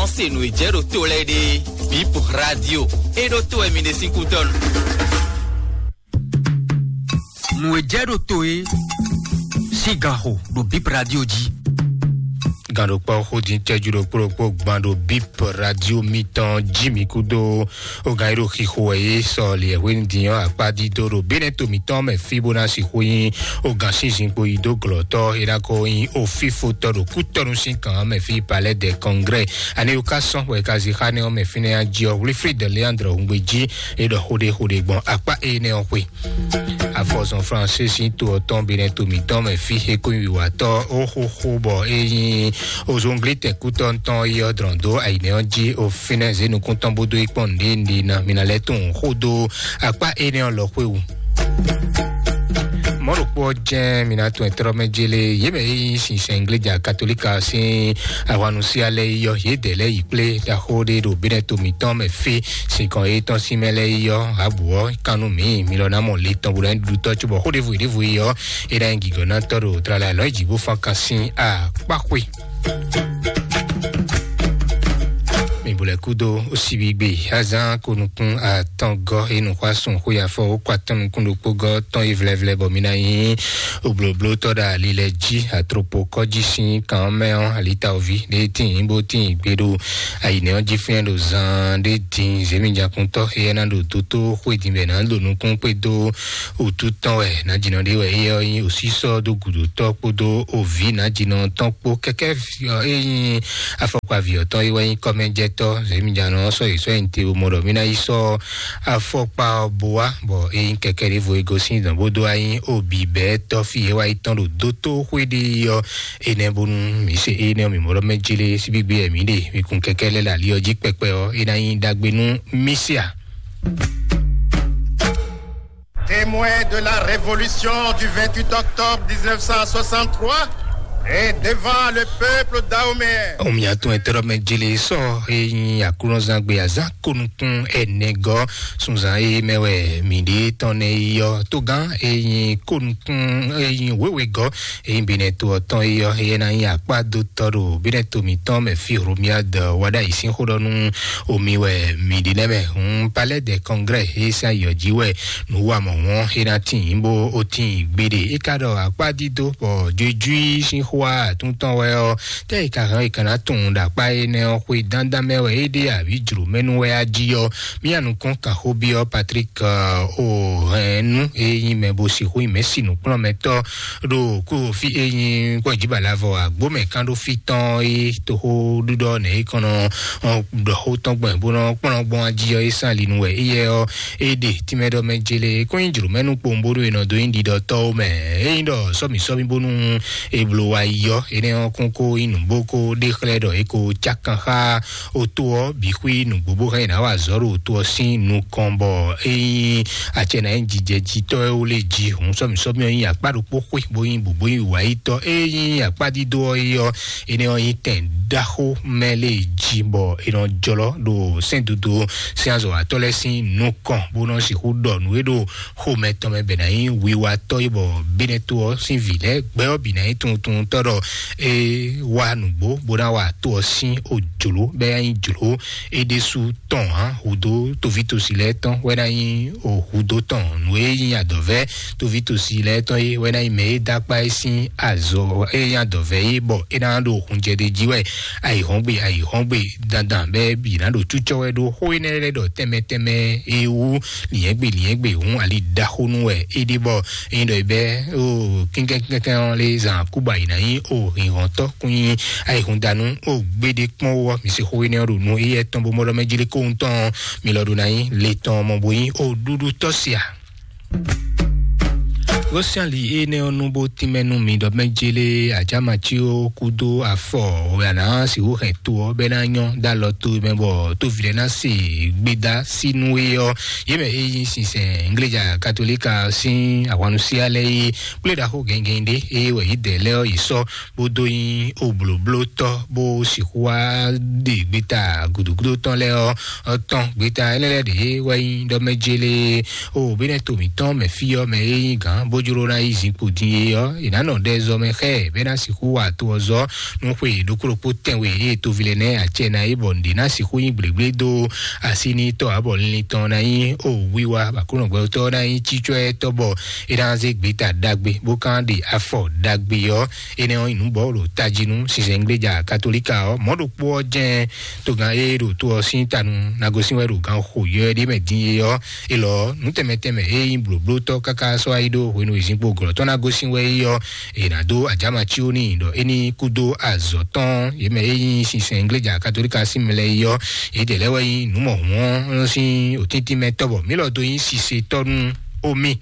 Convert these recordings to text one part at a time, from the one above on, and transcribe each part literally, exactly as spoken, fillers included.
Se nǔ e jɛ ɖo to lɛ́ɛ ɖe, Bip Radio, e ɖo to wɛ mi ɖe sín kútɔ́ nu. Nǔ e jɛ ɖo to e sín ganxo ɖo Bip Radio jí. Gǎnɖokpɔ́ xódin cɛ́jú ɖokpó ɖokpó gban ɖo Bip Radio mitɔn jí mi kúdó ogán e ɖo xixo wɛ é sɔ liɛhwenu din ɔ́ akpá dídó ɖo Benɛto mitɔn mɛ fí bó ná sixú nyí ogán sínzin kpo yi dó glɔ̌tɔ́ é ná ko nyí ofífotɔ́ ɖo kútɔ́nu sín kan mɛ fí Palais des Congrès. Ani wú ká sɔ́n wɛ ka zi xá nɛ́ ɔ́ mɛ fínɛ́ jí ɔ́, Wilfrid Leandre Hungbeji é ɖɔ xóɖéxóɖé gbɔn akpá énɛ́ ɔ́ xwe. Afɔzɔn Fransé sín to ɔ́ tɔn Benɛto mitɔn mɛ fí é kó nyí wiwatɔ́ ó xóxó bɔ é nyí ozonglitɛn kútɔ́ tɔn yi ɔ́ dlɔn dó ayǐnɛ ɔ́ jí ó fínɛ́ zě nukún tɔn bó dó yi kpɔ́n nǔɖé nǔɖé ná mi ná lɛ́ tunwun xó dó akpá énɛ́ ɔ́ lɔ xwé wú. Mɔ̌ ɖokpó ɔ́ jɛ́n mi ná tunwun ɛtrɔ́ mɛ jélé yě mɛ e nyí sinsɛn Igleja Katolíka sín ahwannusia lɛ́ɛ yi ɔ́, yědɛɛ lɛ́ɛ yi kplé ɖaxó ɖé ɖo Benɛto mitɔn mɛ fí. Sinkɔn e tɔn sín mɛ lɛ́ɛ yi ɔ́, abǔ ɔ́ kan nú mǐ, mi lɔ ná mɔ le tɔn bó ná ɖu tɔ́ cóbɔ xó ɖěvo ɖěvo yi ɔ́, é ná nyí gǐgɔ́nátɔ́ ɖo tlala lɔ̌ jǐ bó fán kan sín akpáxwé. Mi bo lɛ kúdó ó síbí gbé azán ko nukún atɔngɔ́ e nǔxwásún xwé afɔ ó kɔ atɔn nukún ɖokpó gɔ́ tɔn yi vlɛvlɛ bɔ mi ná nyí oblóblótɔ́ ɖo ali lɛ jí atropokɔ́ jí sín kan ɔ́ mɛ ɔ́, alitawoví ɖé tíin bó tíin gbé ɖo ayǐnɛ ɔ́ jí fínɛ́ ɖo zan ɖé din zěmijakuntɔ́ éyɛ́ ná ɖo dótó xwé din bɛ ná ɖo nukún kpé dó wǔtu tɔn wɛ nǎjínɔ ɖé wɛ éyɛ́ ɔ́ nyí òsísɔ́ dó gǔdotɔ́ kpódó òví nǎjínɔ tɔn kpó kɛkɛ́ é nyí afɔkpaví ɔ́ tɔn é wɛ nyí kɔ́mɛjɛtɔ́ zěmijanɔ ɔ́ sɔ́ yi sɔ́ yi te mɔ ɖɔ mí ná yi sɔ́ afɔkpa ɔ́ bo wá bɔ é nyí kɛkɛ́ ɖěvo é gosín dɔn bó dó wá nyí obǐbɛ́tɔ́ fí é wá yi tɔn ɖo dótó xwé ɖé ɔ́ énɛ́ bónú mǐ se énɛ́ ɔ́ mǐ mɔ ɖɔ mɛ jlé síbígbé wɛ mǐ ɖe mǐ kun kɛkɛ́ lɛ́ ɖo ali ɔ́ jí kpɛkpɛ ɔ́ é ná nyí ɖagbe nú mí se a. Témoin de la révolution du vingt-huit octobre dix-neuf cent soixante-trois et devant le peuple Dahomey. Omi atún ẹtẹrọ mɛ jele sɔ eyin aklunɔzangbe azan konukun ẹnẹgɔ sunzan eye mɛ wɛ mi ɖe tɔn nɛ yɔ togan eyin konukun eyin wewegɔ eyin benɛ to ɔtɔn yɔ eye na yin akpa do tɔ ɖo benɛ to mitɔn mɛ fi romia de wada yi sin xo ɖɔ nu omi wɛ mi ɖi nɛ mɛ hun palais de congrès eye sin ayɔ ji wɛ nu wa mɔ wɔn eye na tin bo o tin gbeɖe e ka ɖɔ akpa dido bɔ jojuí sin xo atúntɔn wɛ ɔ tɛ e ka hɛn e ka na tunwun ɖo akpa énɛ́ ɔ́ xwe dandan mɛ wɛ é ɖe abǐ jlǒmɛnu wɛ á jí ɔ́ mía nukɔn kan xó byɔ́ Patrick o hɛn nu e nyí mɛ bo sixú nyí mɛ̌si nǔkplɔ́nmɛtɔ́ ɖo kúfí e nyí kpɔ́jǐbalavɔ agbómɛ kán ɖó fí tɔn e toxóɖuɖɔ nɛ e kɔn nɔ ɖɔ xó tɔn gbɔn bó nɔ kplɔ́n gbɔn ají ɔ́ e sán ali nu wɛ éyɛ ɔ́ e ɖe tínmɛ ɖɔ mɛ jele kó nyí jlǒmɛnu kpowun bónú è nɔ dó nyí ɖiɖɔtɔ́wo mɛ. É nyí ɖɔ sɔ́mǐ sɔ́mǐ bónú è bló wa yi ɔ́ énɛ́ ɔ́ kún kó nyí nǔgbó kó ɖe xlɛ́ ɖɔ é ko cákan xá oto ɔ́ bǐ xwí nǔgbó bó hɛn yě ná wa azɔ̌ ɖo oto ɔ́ sín nukɔn bɔ é nyí acɛ ná nyí jijɛjitɔ́ e wó lé jí hǔn sɔ́mǐ sɔ́mǐ ɔ́ nyí akpá ɖokpó xwé bó nyí bǔbú nyí wǎyítɔ́ é nyí akpá dídó ɔ́ é ɔ́ énɛ́ ɔ́ nyí tɛn ɖaxó mɛ lé jí bɔ è nɔ jlɔ́ ɖo sɛ́ndodo sín azɔ̌watɔ́ lɛ́ɛ sín nukɔn bó nɔ sixú ɖɔ nǔ e ɖo xomɛ tɔn mɛ bɛ ná nyí wiwatɔ́ yi bɔ bínɛ́ to ɔ́ sín vǐ lɛ́ɛ gbɛ ɔ́ bǐ ná nyí tuntunwuntɔ́ ɖɔ é wá nǔgbó bó ná wa to ɔ́ sín ojlǒ bɛ ná nyí jlǒ é ɖésú tɔn hǎn hǔdó tovítosí lɛ́ɛ tɔn wɛ ná nyí o hǔdó tɔn nǔ e nyí adɔ̌vɛ́ tovítosí lɛ́ɛ tɔn é wɛ ná nyí mɛ e dó akpá é sín azɔ é nyí adɔ̌vɛ́ é bɔ é ná ɖo hunjɛɖe jí wɛ ayǐhɔ́ngbe ayǐhɔ́ngbe dandan bɛ bǐ ná ɖo cúcɔ wɛ ɖó xó énɛ́ lɛ́ɛ ɖɔ tɛnmɛ tɛnmɛ é wú lǐnyɛ́gbe lǐnyɛ́gbe hǔn ali ɖaxó nú wɛ é ɖe bɔ é nyí ɖɔ é bɛ́ o kínkɛ́nkɛ́nkɛ́n ɔ́ lé zan kúba yi ná nyí o hǐnhɔ́ntɔ́ kún nyí ayǐhúndanú o gbéɖé kpɔ́n wú ɔ́ mi se xó énɛ́ ɔ́ ɖo nú éyɛ́ tɔn bó mɔ ɖɔ mɛ jlé kóhun tɔn ɔ́ mi lɔ ɖo ná nyí le tɔn mɔ bo nyí o ɖuɖu tɔ́ sia. Gosíali énɛ́ ɔ́ nú bó tínmɛ nú mi ɖɔ mɛ jélé ajámací ó kúdó afɔ wɛ a nǎ sixú hɛn to ɔ́ bɛ́ ná nyɔ́ dó alɔ to mɛ bɔ tóvi lɛ́ɛ ná se gbéda sínú é ɔ́ yě mɛ é nyí sinsɛn ngléja katolíka sín ahwannusia lɛ́ɛ é kplé ɖaxó gɛngɛn ɖé é wɛ yě dɛ lɛ́ɛ ɔ́ yě sɔ́ bó dó nyí oblǒblótɔ́ bó sixú wá ɖe gbéta gǔdúgúdú tɔn lɛ́ɛ ɔ́ tɔn gbéta énɛ́ lɛ́ɛ ɖě wɛ nyí ɖɔ mɛ jélé o bínɛ́ to mǐtɔn mɛ fí ɔ́ mɛ é nyí gǎn bó jló ná yi zinkpo din é ɔ́, è nǎ nɔ ɖɛ zɔ mɛ xá ɛ bɔ é ná sixú wa to ɔ́ zɔ nú xwe ɖokpó ɖokpó tɛnwe ée toví lɛ́ɛ nɛ́ acɛ ná é, bɔ nǔɖé ná sixú nyí gblégblédó así ní tɔ́ abɔ linlin tɔn ná nyí o wiwa bɔ Aklúnɔgbɛtɔ́ ná nyí cícɔ́ ɛ tɔ́ bɔ é ná zé gbeta ɖagbe bó kán ɖe afɔ ɖagbe ɔ́. Énɛ́ ɔ́ nyí nǔ bɔ ɖo tají nú sinsɛngbléja katolíka ɔ́. Mɔ̌ ɖokpó ɔ́ jɛ́n togán e ɖo to ɔ́ sín tanu ná gosín wɛ ɖo gan xo yɔ ɛ ɖé mɛ din é ɔ́, é lɔ nǔ tɛnmɛ tɛnmɛ e nyí blǒblótɔ́ káká sɔ́ wá yi ɖó hwenu e zinkpo glɔ̌ tɔn ná gosín wɛ é ɔ́, è nǎ dó ajáma cí ó n'i ɖɔ é ní kú dó azɔ̌ tɔn yě mɛ e nyí sinsɛngbléja katolíka sín mɛ lɛ́ɛ é ɔ́. Yědɛɛ lɛ́ɛ wɛ nyí nǔ mɔ̌hun ɔ́ sín òtíntín mɛ tɔ́ bɔ mǐ lɔ dó nyí sisetɔ́ nú omi.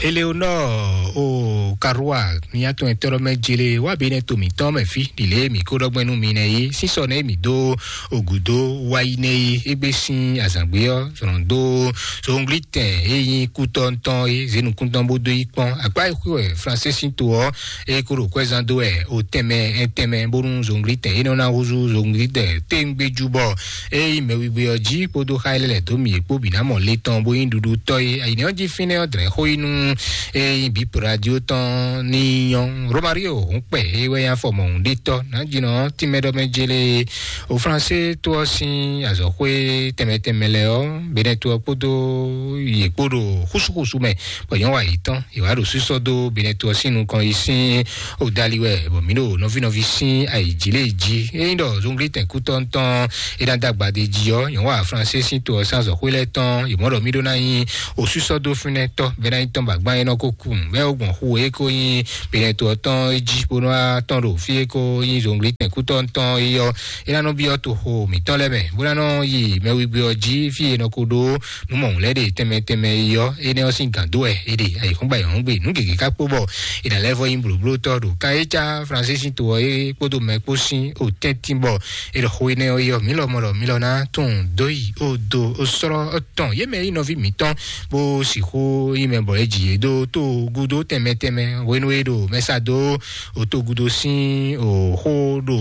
Eleonor o Karua, nya tɔn e tɔɖɔ mɛ jele wá bí nɛ to mǐtɔn mɛ fí ɖi lě mǐ kó ɖɔgbɛ́ nú mi nɛ é. Sísɔ nɛ mǐ dó ògǔdó wáyi nɛ é. Égbé sín azǎngbé ɔ́ zɔn dó zongli tɛn e nyí kútɔ́ ntɔn é zé nukúntɔn bó dó yi kpɔ́n akpá e xwé wɛ Fransé sín to ɔ́, é kó ɖo kwɛ́zán dó wɛ o tɛnmɛ ɛntɛnmɛ bónú zongli tɛn é nɔ ná húzú zongli tɛn téŋgbéjú bɔ é nyí mɛwigbé ɔ́ jí kpódó xá e lɛ́ lɛ̌ dó mì é kpó bǐ ná mɔ le tɔn bó nyí ɖuɖutɔ́ é. Ayǐnɛ́ ɔ́ jí fínɛ́ ɔ́ dlɛ̌n xó yi nú é nyí bǐ radio tɔn ní nyɔ́. Romario hǔn kpɛ é wɛ nyí afɔ mɔ̌hun ɖé tɔ́ nǎjínɔ tínmɛ ɖɔ mɛ jélé o Fransé tó ɔ́ sín azɔ̌xwé tɛnmɛ tɛnmɛ lɛ́ɛ ɔ́, Benɛto ɔ́ kpódó yě kpó ɖo xúsúxúsú mɛ bɔ nyɔ̌ wa yě tɔn. È wǎ ɖo sísɔ́ dó Benɛto ɔ́ sín nukɔn yi sín odali wɛ, bɔ mǐ ɖo nɔví nɔví sín ayǐjǐ lě jí. Ényí ɖɔ zunglítɛn kútɔ́ntɔn é ná dó agbadé jí ɔ́, nyɔ̌ wa Fransé sín to ɔ́ sín azɔ̌xwé lɛ́ɛ tɔn, yě mɔ ɖɔ mí ɖó ná nyí osúsɔ́ dó fínɛ́ tɔ́, bɔ é ná nyí tɔn bɔ agbán é nɔ ko kú. Bɛ́ ó gbɔn xu e ko nyí Benɛto ɔ́ tɔn é jí bó nɔ́ wá tɔn ɖo fí e ko nyí zunglítɛn kútɔ́ntɔn é ɔ́, é ná nɔ byɔ́ toxo mǐtɔn lɛ́ɛ mɛ, bó ná nɔ yi mɛwigbé ɔ́ jí fí e è nɔ ko ɖó nǔ mɔ̌hun lɛ́ɛ ɖe tɛnmɛ tɛnmɛ yi ɔ́, énɛ́ ɔ́ sín gǎn dó wɛ é ɖe ayǐhɔ́ngbe ayǐhɔ́ngbe nǔ gěgé ká kpó bɔ è nǎ lɛ́ vɔ nyí blǒblótɔ́ ɖo kan e cá Fransé sín to ɔ́ é kpódó mɛ kpó sín o tɛ́ntin bɔ è ɖɔ xo énɛ́ ɔ́ yi ɔ́, mǐ lɔmɔ̌ ɖɔ mǐ lɔ ná tunwun dó yi o do o sɔ́lɔ́ tɔn yě mɛ nyí nɔví mǐtɔn bó sixú nyí mɛ bɔ é ji yě dó tó gúdo tɛnmɛ tɛnmɛ hwenu e ɖo mɛsa dó o tó gúdo sín o xó ɖo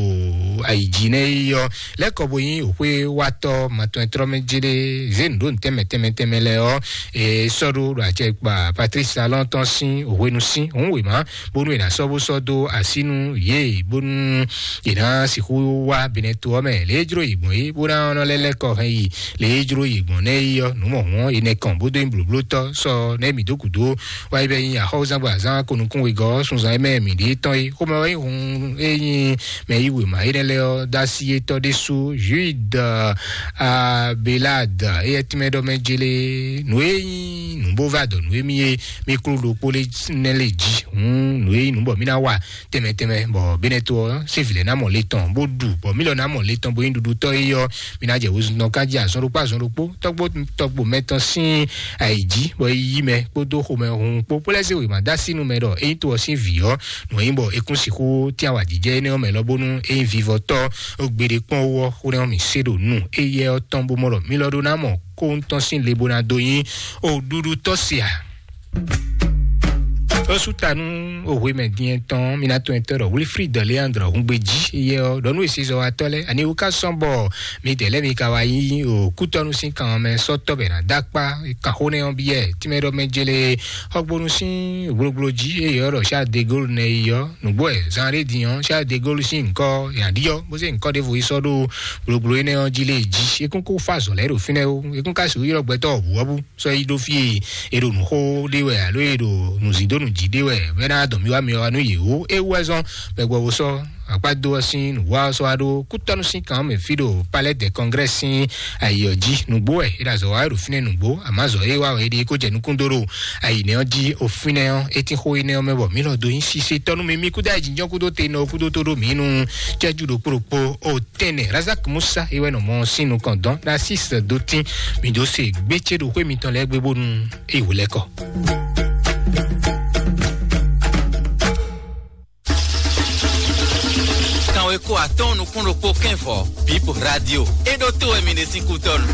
ayǐjínɛ yi ɔ́ lɛ́kɔ bo nyí òxwé watɔ́ matɔn e tlɔ́ mɛ jé ɖé zé nǔ ɖó nǔ tɛnmɛ tɛnmɛ tɛnmɛ lɛ́ɛ ɔ́, e sɔ́ ɖó ɖo acɛ kpa Patrice Talon tɔn sín òhwenu sín òun wěma, bónú è nǎ sɔ́ bó sɔ́ dó así nú yě, bónú è nǎ sixú wá Benɛto ɔ́ mɛ lě e jló yě gbɔn é, bó ná nɔ lɛ́ lɛ́ kɔ hɛn yi lě e jló yě gbɔn nɛ́ é ɔ́, nǔ mɔ̌hun ɔ́, è nɛ kɔn bó dó nyí blǒblótɔ́ sɔ́ nɛ́ mǐ dó gǔdo wá yi bɛ nyí axɔ́zán bɔ azán ko nukún wegɔ́ sunzan e mɛ mǐ ɖe tɔn é. Xomɛ wɛ nyí hun e nyí mɛ yí wěma énɛ́ lɛ́ɛ ɔ́ dó así étɔn ɖésú Jude Abelade éyɛ́ tínmɛ ɖɔ mɛ jélé nǔ e nyí nǔ bó va dɔ nǔ e mì e mì klú ɖokpó lé nɛ́ lé jí. Hǔn nǔ e nyí nǔ bɔ mì ná wa tɛnmɛ tɛnmɛ bɔ Benɛto ɔ́ sín vǐ lɛ́ɛ ná mɔ le tɔn bó ɖu bɔ mì lɔ ná mɔ le tɔn bó nyí ɖuɖutɔ́ é ɔ́, mì ná jɛ wezun tɔn ká jí azɔn ɖokpó azɔn ɖokpó tɔgbo tɔgbo mɛ tɔn sín ayi jí bɔ é yí mɛ kpódó xomɛ hun kpó bó lɛ́ zé wěma dó así nú mɛ ɖɔ é nyí to ɔ́ sín vǐ ɔ́, nǔ e nyí bɔ é kún sixú tɛ́n awǎjijɛ énɛ́ ɔ́ mɛ lɔ bónú é nyí vivɔtɔ́ gbeɖé kpɔ́n wú ɔ́, xó nɛ́ ɔ́ mì se ɖo nú éyɛ́ ɔ́ tɔn bó mɔ ɖɔ mì lɔ ɖó ná mɔ kó ŋutɔn sín le bó ná dó nyí o ɖuɖutɔ́ se a. Ó sú ta nú òhwe mɛ din tɔn mi ná tɔn ɛtɔ́ ɖɔ Wilfrid Leandre Hungbeji yɛ ɔ́ ɖɔ nú èsezɔwatɔ́ lɛ́ɛ ani wú ká sɔ́n bɔ mi tɛ́ lɛ́ mi ka wá yí o kútɔ́nú sín kan mɛ sɔ́tɔ́ bɛ ná dó akpá kan xó nɛ́ ɔ́ bíyɛ tínmɛ ɖɔ mɛ jélé xɔgbónú sín gblogblo jí eye ɔ́ ɖɔ Charles de Gaulle nɛ yi ɔ́ nǔgbó ɛ zan ɖé din ɔ́ Charles de Gaulle sín ŋkɔ yǎ ɖi ɔ́ bó zé ŋkɔ ɖěvo yi sɔ́ ɖó gblogblo énɛ́ ɔ́ jí lé jí é kún kó fá azɔ̌ lɛ́ɛ ɖo fínɛ́ ó é kún ka sixú ylɔ́ gbɛtɔ́ wɔ̌buwɔ́bú sɔ́ yi ɖó fí e è ɖo nǔxó ɖe wɛ alo è ɖo nǔzíndónú jí ɖe wɛ bɔ é ná dɔn mì wá mi wá nú yě ó. É wú wɛ zɔ́n bɔ gbɔ wo sɔ́ akpá dó ɔ́ sín nǔwá ɔ́ sɔ́ wá ɖó kútɔ́nú sín kan mɛ fí ɖo Palais des Congrès sín ayi ɔ́ jí. Nǔgbó wɛ é ɖo azɔ̌ wa wɛ ɖo fínɛ́ nǔgbó, àmọ́ azɔ̌ e wá wɛ é ɖe kó jɛ nukún dó ɖo ayi nɛ́ ɔ́ jí. O fínɛ́ ɔ́, é tín xó énɛ́ ɔ́ mɛ bɔ mǐ lɔ dó nyí sise tɔ́ nú mi. Mi kúdó ayǐjínjɔ́n kúdó te nɔ kúdó tó ɖó mǐ nu cɛ́jú ɖokpó ɖokpó o tɛnɛ Razak Musa é wɛ nɔ mɔ sín nukɔn dɔn Narcisse Dotin. Mi dó se gbé ce ɖo xwé mitɔn lɛ́ɛ gbé bónú é wò lɛ́ kɔ. Kanwe ko atɔn nukún ɖokpó kɛnvɔ Bip Radio. É ɖó tó wɛ mi ɖe sín kútɔ́nu.